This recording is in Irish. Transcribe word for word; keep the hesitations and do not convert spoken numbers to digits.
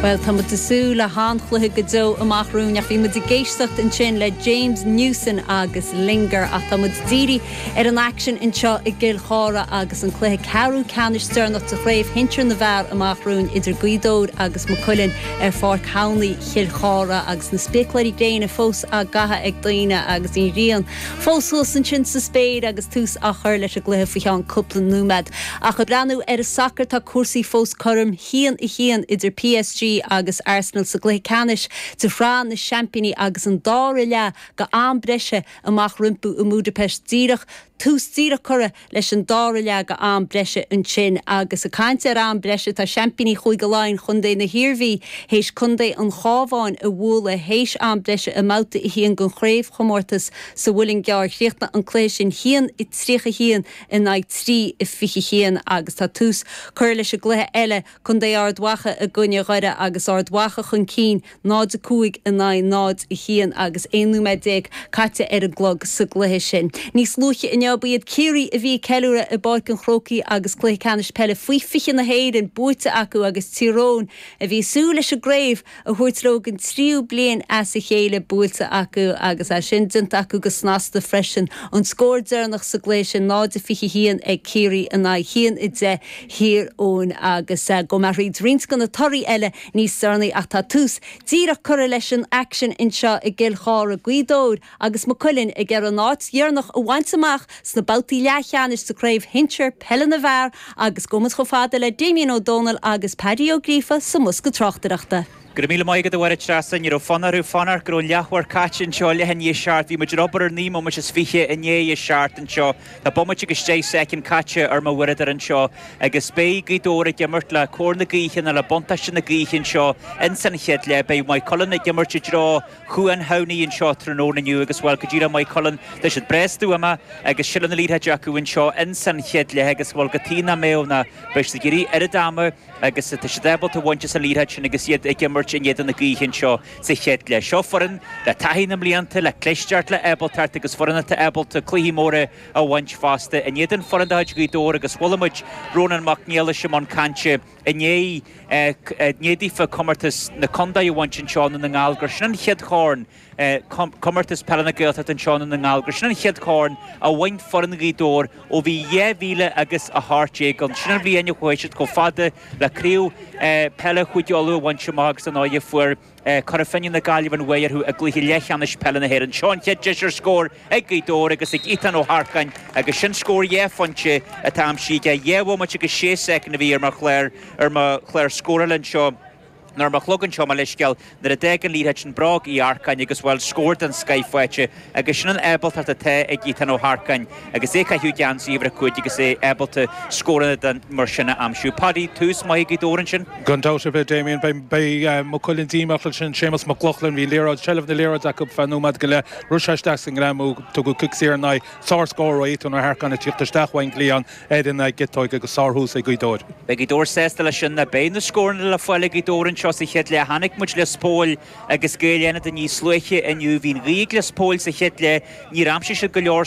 Well tá muid ag súil le han-chluiche go deo amach romhainn ach bhí muid ag éisteacht ansin le James Newson agus Linger ach tá muid dírithe ar an aicsean anseo i gCill Chartha agus an cluiche ceathrú ceannais deireanach de chraobh shinsir na bhfear amach romhainn idir Gaoth Dobhair agus Maigh Cuilinn ar Pháirc Thamhnaí Chill Chartha agus na spéacláirí gréine fós á gcaitheamh ag daoine agus an ghrian. Fós thuas ansin sa spéir agus tús á chur leis an gcluiche faoi cheann cúpla nóiméad. Ach ag breathnú ar an sacar tá cúrsaí fós cothrom a haon a haon idir PSG agus Arsenal sa gcluiche ceannais de Shraith na Seaimpíní agus an dara leath go am breise amach rompu i mBudapest díreach tús díreach curtha leis an dara leath go am breise ansin agus ag caint ar am breise tá seaimpíní Chúige Laighean Contae na hIarmhí théis Contae an Chabháin a bhualadh théis am breise i mbabhta a haon den chraobhchomórtas sa Mhuileann gCearr chríochnaigh an cluiche sin haon a tríocha haon in aghaidh trí a fiche haon agus tá tús curtha leis an gcluiche eile Contae Ard Mhacha i gcoinne Dhoire agus Ard Mhacha chun cinn náid a cúig in aghaidh náid a haon agus aon nóiméad déag caite ar an gclog sa gcluiche sin. Níos luaithe inniu ba iad Ciarraí a bhí ag ceiliúradh i bPáirc an Chrócaigh agus cluiche ceannais peile faoi fiche na hÉireann buaite acu agus Tír Eoghain a bhí ag súil leis an gcraobh a thabhairt leo don tríú bliain as a chéile buailte acu agus é sin déanta acu go snasta freisin. An scór deireanach sa gcluiche sin náid a fiche haon ag Ciarraí in aghaidh haon a deich Thír Eoghain agus uh, go mbeidh roinnt de na torthaí eile níos deireanaí ach tá tús díreach curtha leis an aicsean anseo i gCill Chartha Gaoth Dobhair agus Maigh Cuilinn ag iarraidh an áit dheireanach a bhaint amach sna babhtaí leathcheannais sa chraobh shinsir peile na bhfear agus gabhfaidh muid chomh fada le Damien Ó Dónaill agus Paddy Ó Gríofa sa mbosca tráchtaireachta. Go raibh míle maith agat a Mháire Treasa ní raibh fonn orthu fanacht go raibh leathuair caite anseo leath i ndiaidh a seacht, bhí muid ag obair ar naoi mbomaite is fiche i ndiaidh a seacht anseo. Tá bomaite agus deich soicind caite ar mo uaireadóir anseo agus beidh Gaoth Dobhair ag imirt le cóir na gaoithe nó le buntáiste na gaoithe anseo in san chéad leath beidh Maigh Cuilinn ag imirt i dtreo Chuan Thamhnaí anseo tráthnóna inniu agus bhuel go díreach Maigh Cuilinn tá siad breá stuama agus sin an liathróid acu anseo in san chéad leath agus bhuel go tí na méo na beidh siad ag iarraidh oiread ama agus tá siad ábalta bhaint as an liathróid sin agus iad ag imirt in éadan na gaoithe anseo sa chéad leath. Seo foireann le taithí na mblianta le clisteacht le ábaltacht agus foireann atá ábalta cluichí móra a bhaint fosta. In éadan foireann de Ghaoth Dobhair agus chuala muid Rónán Mac Niallais i mbun cainte inné i ndiaidh daofa comórtas na contae a bhaint anseo na nGall gur sin an chéad chorn comórtas peile na Gaeltachta anseo na nGall gur sin an chéad chorn a bhain foireann Ghaoth Dobhair ó bhí dhá mhíle agus a hocht déag an sin an bhliain a chuaigh siad chomh fada le craobh peile Chúige Uladh a bhaint amach agus an áige fuair Cora Finne na Gaillimh an bua orthu i gcluiche leathcheannais peile na hÉireann. Seo an chéad deis ar scór ag Gaoth Dobhair agus ag Ethan Ó hEarcáin agus sin scór dhá phointe atá aimsithe aige dhá bhomaite agus sé soicind a bhí ar mo chlár ar mo chlár scórála anseo. Nar mo chlogan seo mar leiscéal nuair a d'fhág an liathróid sin bróg Uí Earcáin agus bhfuil scór den scoth faighte agus sin an ábaltacht atá ag Ethan Ó hEarcáin agus é caitheamh geansaí uimhir a cúig agus é ábalta scóranna den mar sin a aimsiú. Paddy tús maith Gaoth Dobhair ansin. Gan dabht ar bith Damien beidh Maigh Cuilinn díomách sin Séamus Mac Lochlainn bhí liathróid seilbh na liathróide acu feadh nóiméad go leith rith sé isteach sa ngreamú tugadh cic saor in aghaidh sár-scór ó Ethan Ó hEarcáin ag tíocht isteach ón gcliathán ar an gciotóig agus sárthús ag Gaoth Dobhair. Beidh Gaoth Dobhair sásta leis sin na beidh na scóranna le fáil ag Gaoth Dobhair anseo sa chéad leath chonaic muid Lios Póil agus Gaeil Fhánada níos luaithe inniu bhí an ghaoth ag Lios Póil sa chéad leath níor aimsigh siad go leor